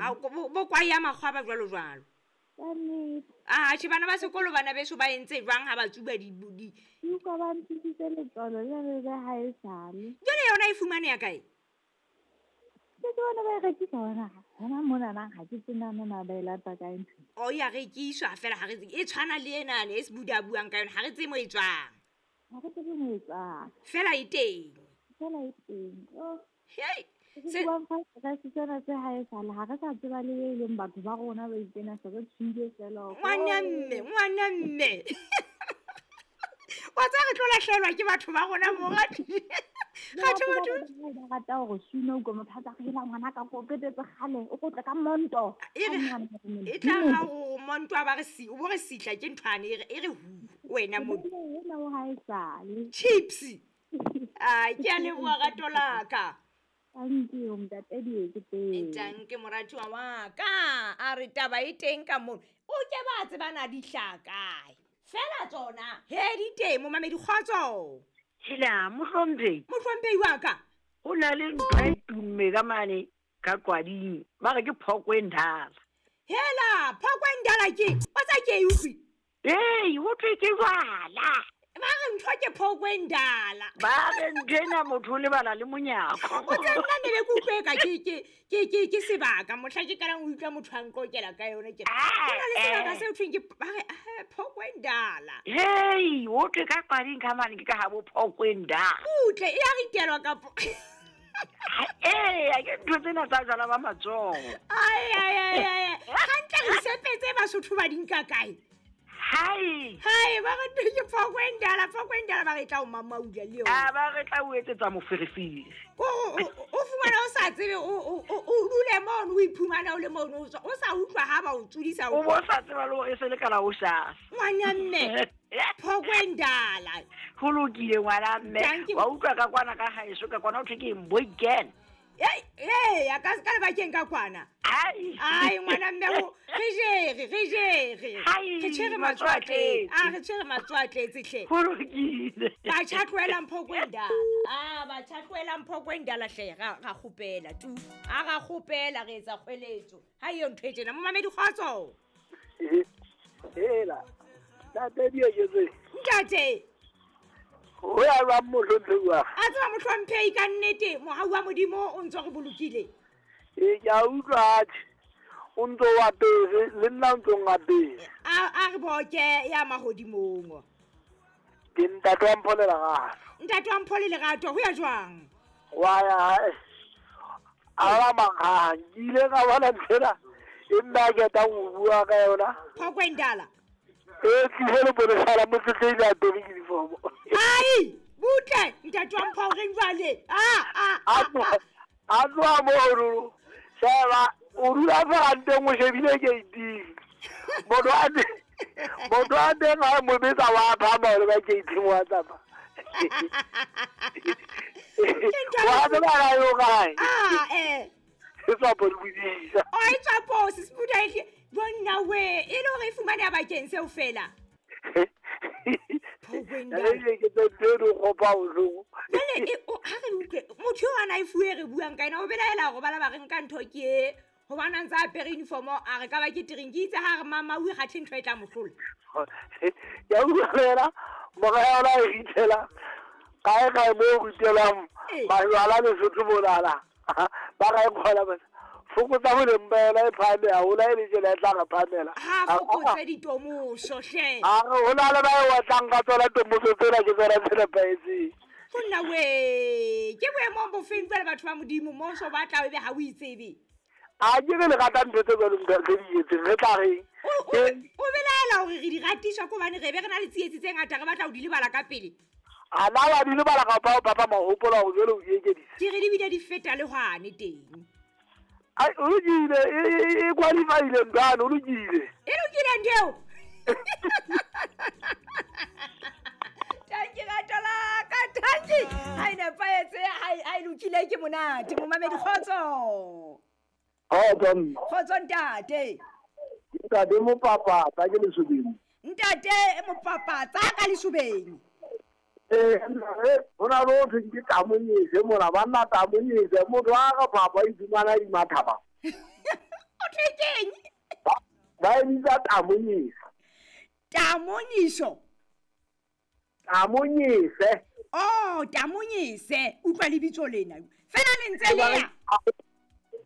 Ga bo kwae ya makgwa ba jalo jalo. Ka nnete. Atjhe, bana ba sekolo bana beso ba entse jwang ha ba tsuba di di Ke utlwa ba nthusitse letswalo le le le ha e sale. Jwale yona e fumaneha kae? Ke ke bona ba e rekisa hona hona monana, ha ke tsebe na na ba e lata kae ntho. O ya rekiswa fela, ha re tsebe. E tshwana le enane e Sebuda a buang ka yona, ha re tsebe mo e tswang. Ha re tsebe mo e tswang. Fela e teng. Fela e teng. Oh. Hei. Re buang fa stress tsena tse ha e sale, ha re sa tseba le e leng batho ba rona ba itsena, se re tshwile fela. Ngwana mme, ngwana mme. Wa tseba re tlo lahlehelwa ke batho ba rona mo batho. Kgathe batho. Ba rata hore suna o motho a tsa re hela ngwana ka ko qetetse kgale, o kotle ka monto. E re e tla ra o monto a ba re si, o bo re sitla ke nthwane e re e re hu wena mo. Ena o ha e sale. Chips. Ai, ke a leboha rato la ka. Thank you, ntate Dieketseng. Tanke moratuwa wa ka. A re taba e teng ka mono. O ke ba tsebana di hlaha kae. Fela tsona, he di teng momamedi kgotso. Hela, mohlomphehi. Mohlomphehi wa ka. Ho na le ntho e tumme ka mane ka Qwading, ba re ke phoko e ndala. Hela, phoko e ndala ke, wa tsa ke e utlwe. Ee, ho thwe ke jwala. Ba re ntho ke phoko e ndala. Ba re ntho ena motho o lebala le monyako. O tse nna ne be ke utlwe ka ke ke ke ke ke sebaka mohla ke qalang ho utlwa motho a nqokela ka yona ke. Ho na le sebaka se ho thweng ke ba re phoko e ndala. Hei, ho thwe ka Qwading ka mane ke ka habo phoko e ndala. Butle, e a ritelwa kapo. Ee, ke ntho tsena tsa jwala ba matsoho. Ai ai ai ai. Hantle re sepetse Basotho ba di nka kae? Hai. Hai, ba re ntho ke phoko e ndala, phoko e ndala ba re tla o mamaula le yona. A ba re tla o etsetsa moferefere. O fumana o sa tsebe, o dule mono, o iphumana o le mono, o sa utlwa ha ba o tsudisa. O bo sa tseba le hore e se le ka la o shasa. Ngwana mme, phoko e ndala. Ho lokile ngwana mme. Wa utlwa ka kwana ka haeso, ka kwana ho thwe ke Mboiken. Ei, ei, a ka ka lebakeng ka kwana. Ai. Ai, ngwana mme ho, re jere, re jere. Ai, Re tshwere matsoho a tletse. A re tshwere matsoho a tletse hle. Ho lokile. Batjha tlohelang phoko e ndala. Ah, batjha tlohelang phoko e ndala hle, ra kgopela tu. A ra kgopela re etsa kgweletso. Ha eyo ntho e tjena, momamedi kgotso. Hela. Ntate Dieketseng. Ntate. Ho ya jwang mohlomphehi wa? A tseba mohlomphehi ka nnete, mohau wa Modimo o ntso re bolokile. Ee, ke a utlwa atjhe. O ntso o apere, le nna o ntso ngapere. A re boke ya mahodimong. Ke ntate wa Mpho le Lerato. Ntate wa Mpho le Lerato, ho ya jwang? Wa ya hae. A ba manghang, ke ile ka bona nthwena e nna ke ketang ho bua ka yona. Phoko e ndala. E tlile le bonesa la motsetedi a apere uniform. Ai, butle, ntate wa Mpho re jwale. A tloha mono. Sheba, o dula feranteng o shebile gate-ing. Motho a teng ha mo betsa wa phama hore ba gate-ing wa tsamaya. Wa tseba ka yo kae? Ah, eh. E tswa polokisa. O e tswa posi, Sebuda e hle. Bonna we, e le hore e fumaneha bakeng seo fela. Jwale ke tse ntho e di kgopa bohloko. Jwale, ha re utlwe, motho eo a na e fuwe re buang ka ena, o belaela hore ba la ba re nka ntho ke e, hobane a ntse a apere uniform, a re ka ba ke tereng, ke itse ha re mama o ikgathe ntho e tla mo hlola. Ke a utlwa fela, mora ya ona e ritela, kae kae moo ho ritelwang, majwala Lesotho monana. Ba ra e kgola bana. Fokotsa boleng ba yona e phahame haholo, ha e le tjena e tla re phahamela. Ha fokotse ditomoso hle. A re ho na le ba e otlang ka tsona tomoso tsena ke tsona tse nepahetseng. Ho nna we, ke boemong bofeng jwale batho ba Modimo, mmuso ba tla ebe ha o itsebe. A ke re le rata ntho tse jwalo ntho tse di etseng, re tla reng? O belaela hore re di ratiswa ke hobane re be re na le tsietsi tse ngata, re batla ho di lebala ka pele. A na wa di lebala kapa o papa mahopola hore jwale o di ekeditse? Ke re di bile di feta le hwane teng. Ai, o lokile, e qualify-ile ntwana, o lokile. E lokile ntho eo? Tanki rato la ka, tanki. Ha e nepahetse, ha e lokile ke monate. Momamedi kgotso. Kgotso mme. Kgotso ntate. Ntate Mopapatsa ke Lesobeng. Ntate Mopapatsa ka Lesobeng. Ho na le ho thweng ke tamonyese mona, banna tamonyese, motho a re papa e fumana di mathaba. e bitsa tamonyisa. Tamoniso. Tamonyise. Oh, tamonyise. Utlwa lebitso lena. Fela le ntse le ya.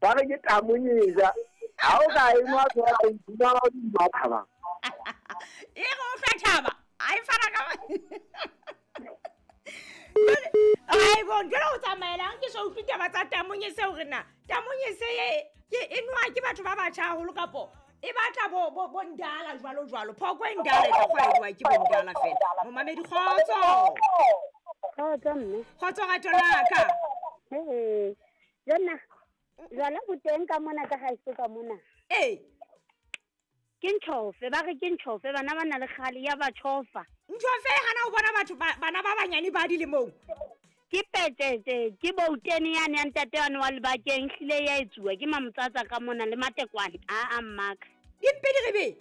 Ba re ke tamonyisa. Ha o ka e nwa fela o iphumana o di thaba. E re o tla thaba. A e fana ka. Ai bon, jwale o tsamaelang ke so utlwe taba tsa tamonyise hore na tamonyise ke e nwa ke batho ba batjha haholo kapo e batla bo ndala jwalo jwalo. Phoko e ndala e tlo kgwaediwa ke bo ndala fela. Momamedi kgotso. Kgotso mme. Kgotso rato laka. Ee. Jonna. Jwala bo teng ka mona ka haeso ka mona. Ee. Ke ntšhofe, ba re ke ntšhofe, bana ba na le kgale ya ba tšhofa. Ntšhofe hana o bona batho bana ba banyane ba dilemong. Ke petete, ke boutene yane ya ntate yane wa lebakeng hlile ya etsuwa ke mamotsatsa ka mona le matekwane a mmaka. Dimpe di re be.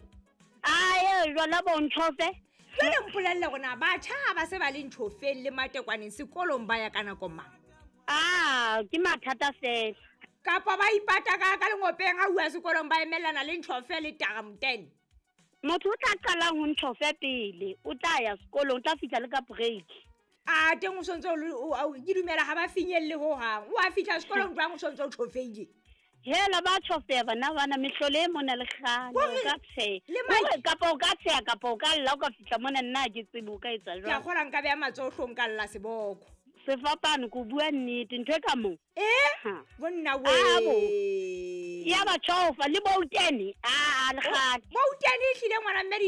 Ae jwala bo ntšhofe. Jwale mpolelle rona batjha ha ba se ba le ntšhofeng le matekwaneng sekolong ba ya ka nako mang? Ah, ke mathata fela. Kapa ba ipata ka lengopeng ha uwa sekolong ba emellana le ntšhofe le taramtene. Motho o tla qalang ho ntšhofe pele, o tla ya sekolong, o tla fihla le ka break. A teng o sontse o ke dumela ha ba finyelle ho hang. O a fihla sekolong jwang o sontse o tšhofeile? Hela ba tšhofeha bana bana mehlolo e mona le kgale, o ka tsheha. Kapa o ka tsheha kapa o ka lla o ka fihla mona nna ha ke tsebe o ka etsa jwang. Ke a kgola nka beha matsoho hlong ka lla seboko. Sefapano ko bua nnete ntho e ka moo. Eh? Bonna we. Ya ba tšhofa le boutene. A le kgale. Boutene e hlile ngwana mme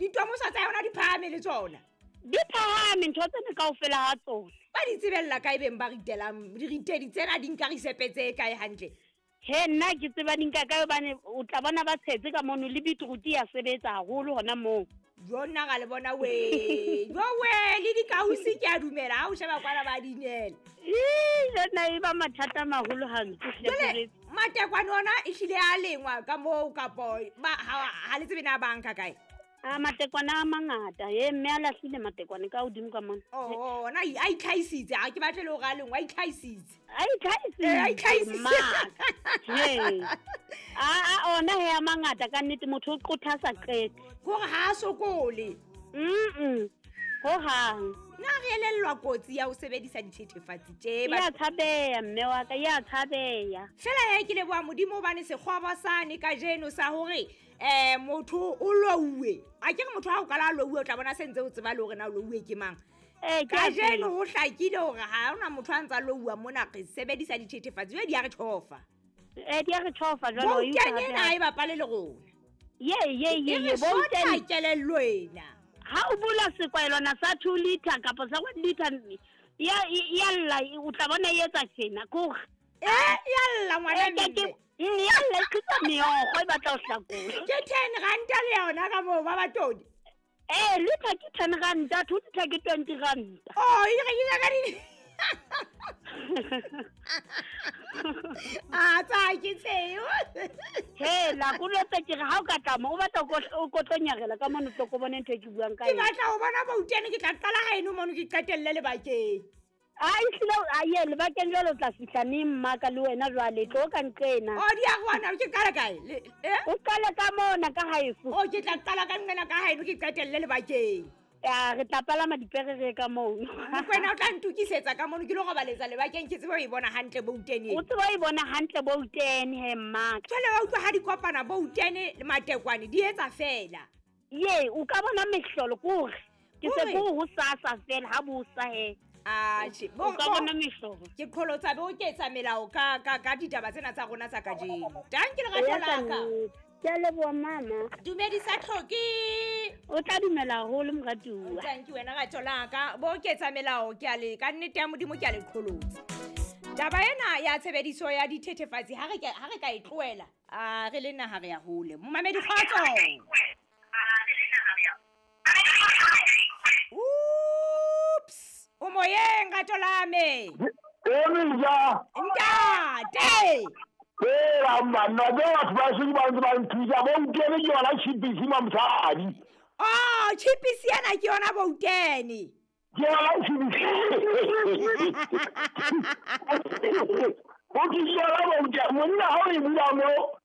ditomoso tsa yona di phahame le tsona. Di phahame ntho tsena kaofela ha tsona. Ba di tsebella kae beng ba ritelang diritedi tsena di nka risepe tse kae hantle? He nna ke tseba di nka kae hobane o tla bona ba tshetse ka mono le beetroot ya sebetsa haholo hona moo. Jo nna ga le bona we. Jo we le dikausi ke a dumela ha o sheba kwana ba dinela. Jonna e ba mathata a maholo hampe. Jwale matekwane ona e hlile a lengwa ka moo kapo ha le tsebe na banka kae? A matekwane a mangata. Ye mme a lahlile matekwane ka hodimo ka mona. Oh, ona a itlhaisitse, ha ke batle le hore a lengwa, a itlhaisitse. A itlhaisitse. A itlhaisitse. He. A ona he a mangata ka nnete motho o qotha sa qete. Hore ha a sokole. Ho hang. Na re elellwa kotsi ya ho sebedisa dithethefatsi tje. Ya tshabeya mme wa ka, ya tshabeya. Fela he ke leboha Modimo hobane sekgobo sane kajeno sa hore motho o louwe. A ke re motho ha o kala louwe o tla bona se ntse o tseba le hore na o louwe ke mang. Kajeno ho hlakile hore ha hona motho a ntsa louwa mona re sebedisa dithethefatsi jwale di a re tjhofa. Di a re tjhofa jwale o utlwa. Ena e bapale le rona. Ye boutene kelello ena. Ha o bula sekwaelwana sa 2 liter kapa sa 1 liter ya lla o tla bona e etsa tjena kore. Ya lla ngwana mme. Ya lla e qhitsa meokgo e batla ho hlakola. Ke 10 ranta le yona ka moo ba batodi. Liter ke 10 ranta, 2 liter ke 20 ranta. Oh, e rekisa ka di. A tsa ke tseo. He la kulotse ke re ha o ka tlama o batla o kotlonyarela ka mono tlo ko bone ntho e ke buang ka yona. Ke batla ho bona boutene ke tla qala haeno mono ke qetelle lebakeng. A ehlile a ye lebakeng jwale o tla fihla neng mmaka le wena jwale tlo ka nqena. Oh di a rwana ke qala kae? O qale ka mona ka haeso. Oh ke tla qala ka nqena ka haeno ke qetelle lebakeng. Ya re tla palama dipere re ka mono. Mokwena o tla ntokisetsa ka mono ke lo robaletsa lebakeng ke tsebe ho e bona hantle boutene. O tsebe ho e bona hantle boutene he mmaka. Jwale wa utlwa ha di kopana boutene le matekwane di etsa fela. Ye o ka bona mehlolo kore. Ke se ko ho sasa fela ha bo sa he. Atjhe, o ka bona mehlolo. Ke qholotsa be o ketsa melao ka ditaba tsena tsa rona tsa kajeno. Tanki lerato la ka. Ke a leboha mama. Dumedisa Tlhoki. O tla dumela haholo moratuwa. Tanki wena rato la ka. Bo ketsa melao ke a le ka nnete ya Modimo ke a le qholotsa. Taba ena ya tshebediso ya dithethefatsi ha re ka e tlohela, a re le naha re ya hole. Momamedi kgotso. Oops. O moyeng rato la me. Emija. Ntate. Fela mbanna ke batho ba se ba ntse ba nthusa boutene ke yona chipisi mamosadi. Oh, chipisi ena ke yona boutene. Ke yona chipisi. O ke yona boutene monna ha o e bula mo